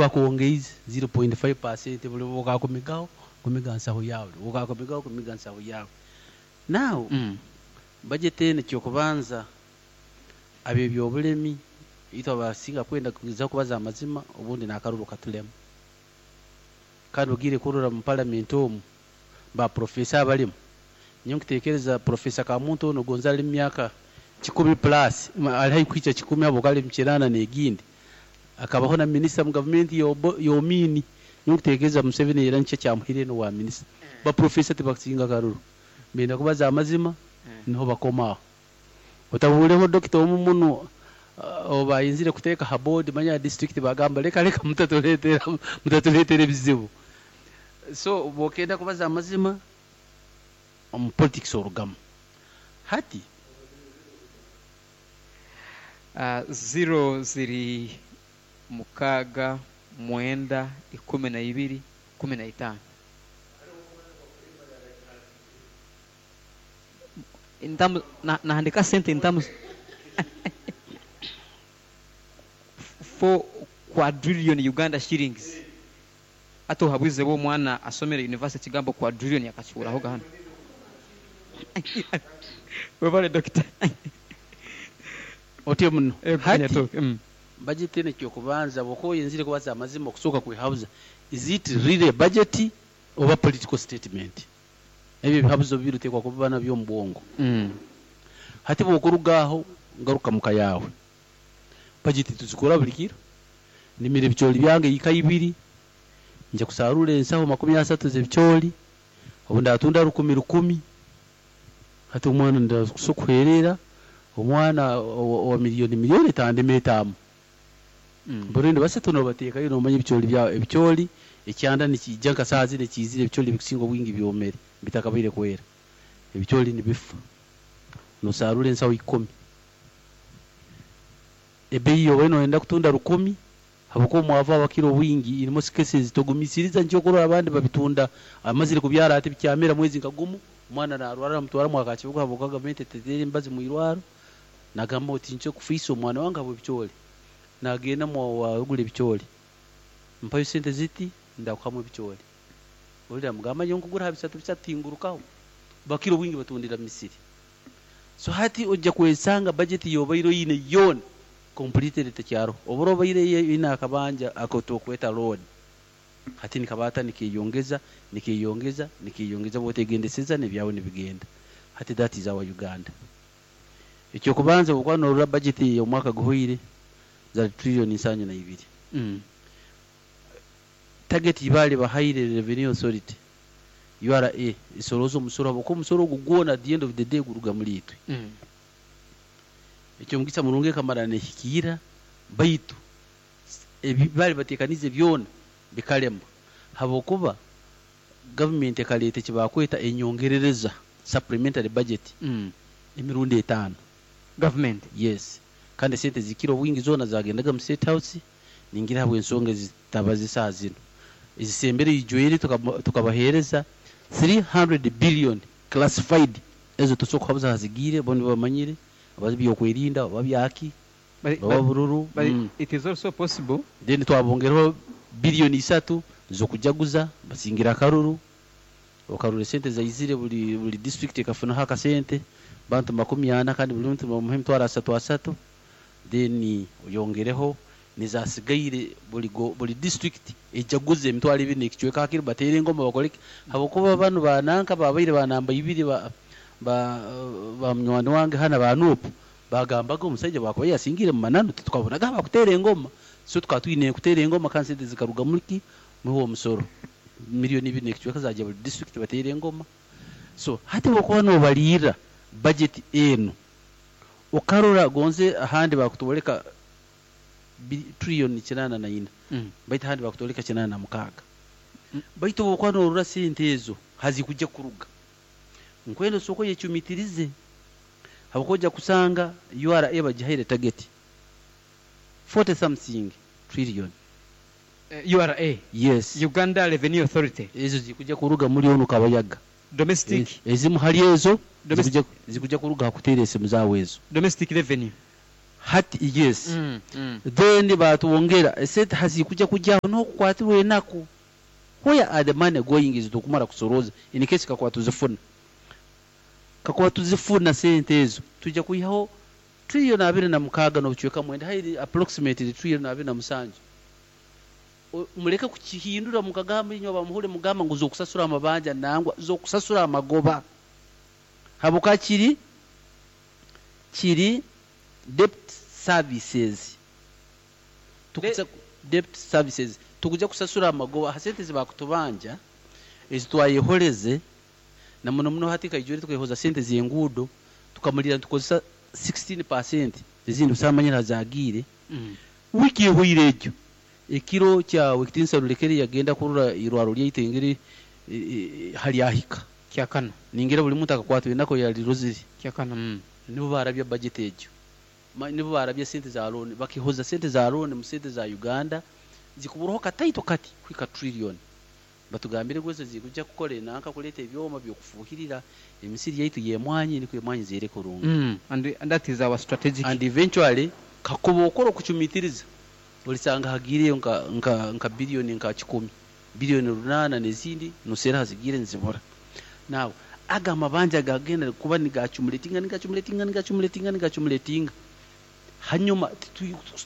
bakwongeize 0.5% buri obu okakumigaho kumiga nsaho yaawe, obu okakumigaho kumiga nsaho yaawe. Now budget enu ekyokubanza ab'ebyobulemi itwe abasinga kwenda kugezaho kubaza amazima obundi n'akaruru katulema. Kandi ogiire kurora mu parliament omu ba professor abalimu, nyowe nkutekereza Professor Kamuntu onu gonza ali mu myaka kikumi plus, ali haihi kuhikya kikumi habwokuba ali mu kinaana n'egindi, akabaho na minister mu gavumenti ya Omini. Nyowe nkutekereza Museveni era nikyo kyamuhaire n'obwa minister. Ba professor tibakusinga karuru, benda kubaza amazima niho bakoma aho. Otabuureho dokita omu munu ou bayenzire kuteeka ha board manya ya district bagamba leka leka mutatureetera mutatureetera ebizibu. So bwokenda kubaza amazima omu politics orugamu. Hati. Ziro ziri mukaaga, mwenda, 12, 15. In terms, na, nahandika sente in terms 4 quadrillion Uganda shillings. Hati ohabwize bwe omwana asomere university ekigambo quadrillion akakihurahoga hanu. Webale Dokita. Otyo muno. Ego Hati Nyatooke. Budget enu ekyokubanza bwokuba oyenzire kubaza amazima okusooka kwehabuza is it really a budget oba political statement? Ebyo ebihabuzo bibiri otekwa kuba nabyo omu bwongo. Hati bwokuruga aho ngaruka muka yaawe. Budget tuzikora buri kiro. Ndimire ebicoori byange eka ibiri, ngya kusarura ensaho 30 z'ebicoori, obu ndatunda rukumi rukumi, hati omwana ndakusa kuheerera omwana owa million million etandema etaama. Burundi basatu nobateekayo nomanya ebicoori byawe, ebicoori ekyanda nikiija nka saaha zinu ekiizire ebicoori ebikusinga obwingi byomere bitakabaire kwera. Ebicoori nibifa. Nosarura ensaho ikumi. Ebeeyi obaire noyenda kutunda rukumi habwokuba omwavu abakira obwingi in most cases togumisiriza nikyo okurora abandi babitunda amazire kubyara hati bikyamera mwezi nka gumu omwana narwara namutwara mwa Kakibuga habwokuba gavumenti eteteire emibazi mwirwaro nagamba oti nikyo kufiisa omwana wange habw'ebicoori nagenda mwa ogura ebicoori mpayo sente ziti ndakuhamu ebicoori ori namugamba nyowe nkugura ha bisatu bisatu tingurukaho bakira obwingi batundira misiri so hati ojja kwesanga budget yobaire oyine yoona completely tekyaroho. Obura obaire oine akabanja aku turikweta loan hati nikabaata nikeyongeza, nikeyongeza, nikeyongeza bwotegendeseza nebyawe nibigenda. Hati that is our Uganda. Ekyokubanza obwokuba norora budget eyomwaka guhweire zari trillion 72. Target yibari bahaire Revenue Authority, URA, esorooza omusoro habwokuba omusoro ogu gwona at the end of the day guruga muri itwe. Eky'omugisa murungi ekamara nehikiira baitu ebi baali bateekaniize byona bikalema habwokuba gavumenti ekaleeta eki baakweta enyongerereza, supplementary budget, emirundi etaano. Gavumenti? Yes. Kandi esente ezikira obwingi zoona zagendaga mu State House ningira habw'ensonga ezitabaza esaaha zinu. Ezisembere ijwire tukabaheereza 300 billion classified ezo tosobora kuhabuza hazigiire bo nibo bamanyire oba by'okwerinda oba byaki oba bururu. But it is also possible. Then twabongereho billion isatu z'okujaguza basingire akaruru, okarora esente zaizire buri buri district ekafunaho akasente, bantu 40 kandi buri muntu nibamuha emitwaro asatu asatu, then oyongereho nezasigaire buri buri district ejaguze emitwaro ebiri n'ekicweka hakiri bateere engoma bakore ki habwokuba banu ba nanka babaire ba namba ibiri ba ba ba munywani wange hanu aba Nup bagambaga omusaija bwakuba yasingiire mu mananu titukabonaga abakuteera engoma so tukaba twine kuteera engoma kandi sente zikaruga muri ki muri owo musoro million ibiri n'ekicweka zagya buri district bateere engoma so hati obwokuba nobaliirra budget enu okarora gonze ahandi bakutwoleka trillion 84 baitu ahandi bakutwoleka 86 baitu obwokuba norora sente ezo hazikujya kuruga nkwenda osooke oyecumitirize habwokuba ojja kusanga URA bagihaire target 40 something trillion. URA? Yes. Uganda Revenue Authority. Ezo zikujja kuruga muri onu Kabayaga. Domestic. Ezimu hali ezo zikujja kuruga ha kuteera esimu zaawe ezo. Domestic revenue. Hati yes. Then batwongera esente hazikujya kujyaho n'okukwatirwa enaku. Where are the money going ezi tukumara kusoroza in case kakuba tuzifuna? Kakuba tuzifuna sente ezo twija kwihaho trillion 26 n'obucweka 9, highly approximately trillion 27. Muleke kukihindura mukagamba inywe abamuhure mugamba ngu z'okusasura amabanja, nangwa z'okusasura amagoba. Habwokuba kiri kiri debt services. Tukuza debt services tukuja kusasura amagoba ha sente ezibakutubanja ezitwayehoreze, na muno muno hati nkaijwire tukehoza sente z'enguudo tukamulira nitukozesa 16% ezindi busaho amanyire hazagiire. Wiiki ehoire egyo ekiro kya Wekitinisa Rulekere yagenda kurora irwaro lyaitu engeri halyahika. Kyakana. Ningira buli muntu akakwatwa enaku yalirozire. Kyakana. Nibo barabya budget egyo. Nibo barabya sente za loan, bakehoza sente za loan mu sente za Uganda zikuburaho kataito kati kuhika trillion. Batugambire ngu ezo zikujja kukora enanka kuleeta ebyoma by'okufuuhirira emisiri yaitu y'emwanyi nikwo emwanyi zeere kurungi. And that is our strategic. And eventually kakuba okora okucumitiriza olisanga hagiireyo nka nka nka billion nka kikumi, billion 8 n'ezindi noseera hazigiire nizibura. Now ago amabanja gagenda kuba nigacumulatinga nigacumulatinga nigacumulatinga nigacumulatinga hanyuma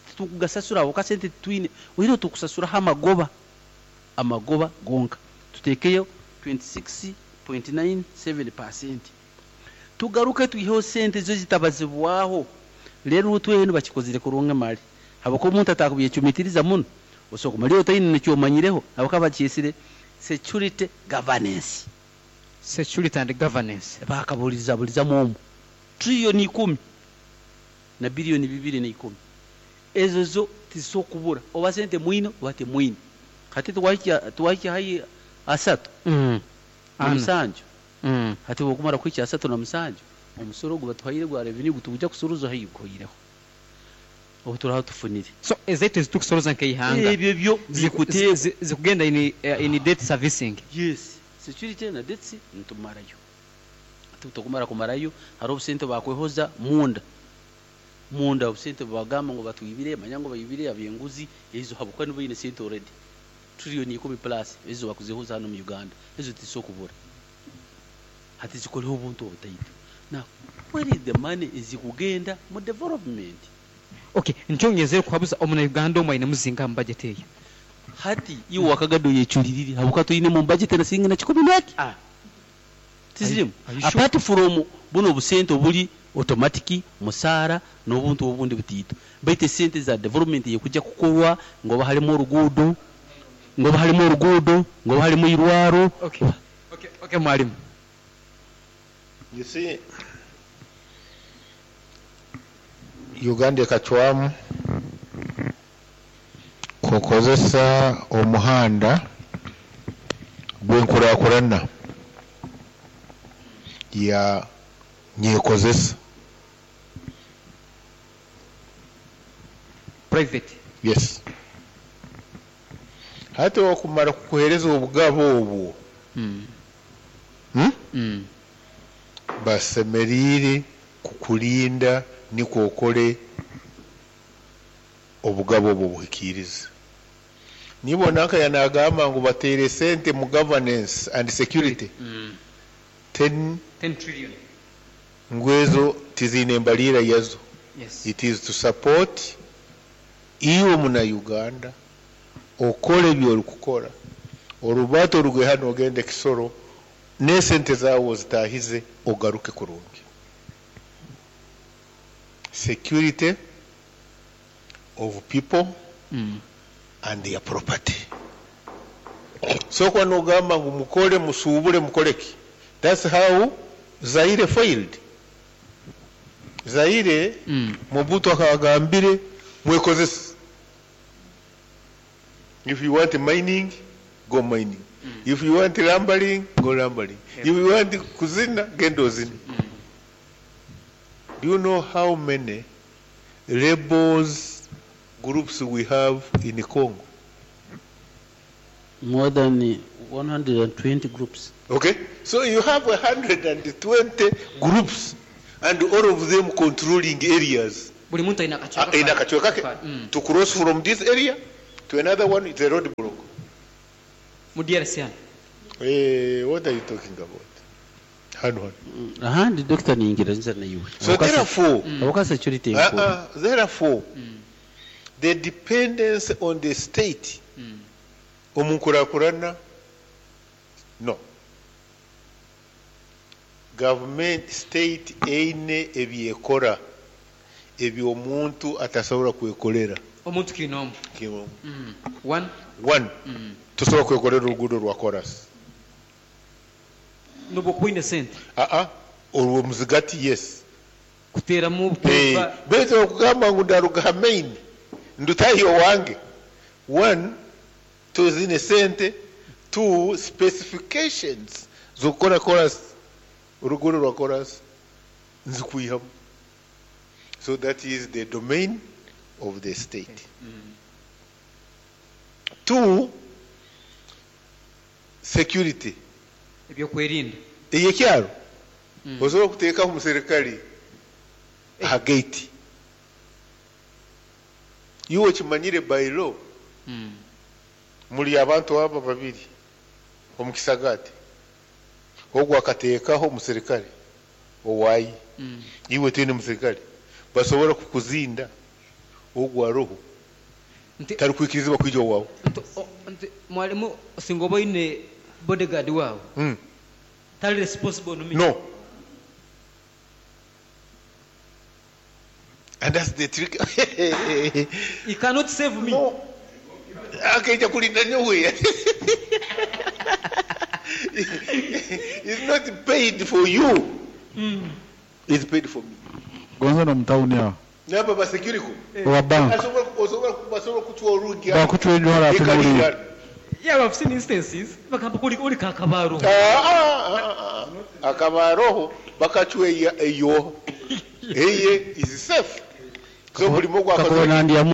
titukugasasura habwokuba sente titwine, oihireho tukusasuraho amagoba, amagoba gonka tuteekeyo 26.97%. Tugaruke twiheho sente zo zitabazibwaho. Rero utwe bakikozire kurungi mali habwokuba omuntu atakubyecumitiriza muno osobola kumaliyo otaine nekyomanyireho, habwokuba bakyesire security governance. Security and governance. Bakabuliza bulizamu omu trillion 10 na billion 210 ezo zo tizisobola kubura, oba sente mwine oba temwine. Hati twahikya haihi asatu na musanju. Hati bwokumara kuhikya 37 omusoro ogu batuhaire gwa revenue gutugya kusuruza haihi guhoireho obu turaha tufunire. So ezaitu ezitukusoroza nk'eihanga ebyo byo bikuteebwa zikugenda in debt servicing. Yes, security na debts nitumarayo. Hati tukumara kumarayo hariho obusente bakwehoza munda munda, obusente bagamba ngu batwibire, manya ngu baibire ab'enguzi ezo habwokuba nibo baine sente already trillion 10 plus ezo bakuzihoza hano mu Uganda, ezo tizisobola kubura. Hati zikoreho obuntu obutaito. Now where is the money ezikugenda mu development? Okay, nkyongezere kuhabuza omuna Uganda omwe aine muzinga mu budget eyo. Hati iwe wakagado yeculirire habwokuba tuyine mu budget na siringi na kikumi n'eki tizirimu. Are you sure? Apart from buno obusente obuli automatic musaara n'obuntu obundi butiito, baitu esente za development yekujja kukorwa ngoba halimu oruguudo, ngoba halimu oruguudo, ngoba halimu irwaro. Okay, mwalimu. You see, Uganda ekacwamu kukozesa omuhanda gw'enkurakurana ya nyekozesa. Private. Yes. Hati okumara kukuhereza obugabo obwo, Basemeriire kukulinda nikwo okole obugabo obwo buhikirize. Nibona nka yanagamba ngu bateere sente mu governance and security 10 10 trillion. Ngu ezo tiziine embaliira yazo. Yes. It is to support iwe muna Uganda okole ebyorikukora, orubato oruge hano ogende Kisoro n'esente zaawe ozitahize ogaruke kurungi. Security of people and their property. So kwa nogamba ngu mukole musubule mukoleki, that's how Zaire failed. Zaire Mobutu akagambire mwekozese. If you want mining, go mining. If you want lumbering, go lumbering. If you want kuzina, genda ozine. Do you know how many rebels groups we have in Congo? More than 120 groups. Okay, so you have 120 groups and all of them controlling areas. Buri muntu aine akacweka Aine akacweka ke. To cross from this area to another one it's a road block. Mu DRC hanu. Eh, what are you talking about? Hanu hanu. Ahandi Dokita ningira naiwe. So therefore, Habwokuba security enkuru. Therefore, the dependence on the state omu nkurakurana, no. Government, state eine ebi ekora ebi omuntu atasobora kwekorera. Omuntu kiinoomu. Kiinoomu. One. One, tosobora kwekorera oruguudo rwa korasi. N'obu okuba oine sente. Aa, orwo muzigati yes. Kuteeramu obupeepa. Beitu okugamba ngu ndaruga ha main ndutaahe owange, one, toziine sente, two, specifications z'okukora korasi, oruguudo rwa korasi nizikwihamu. So that is the domain of the state. Two, security. Ebyokwerinda. Eyekyaro osobola kuteekaho omuserikare aha gate. Iwe okimanyire by law muri abantu aba babiri omu kisagaati. Ogu akateekaho omuserikare owaaye. Iwe toine muserikare. Basobola kukuzinda ogu aroho. Tarikwikirizibwa kwija owaawe. Nti mwalimu singa oba oine bodyguard waawe tari responsible on me. No. And that's the trick. He cannot save me. No. Akaija kurinda nyowe. He's not paid for you. He's paid for me. Gonza n'omu tawuni aho. N'abo ba security. Owa bank. Asobola osobola basobola kucwa orugi aho. Bakucwa enjwara atunuulire. Yeah, I've seen instances. Bagamba ori ori kakabaro. Ah, ah, ah, akabaroho bakacwa eyo. Eye is safe. So buli mugwa Kakuba nandyamu.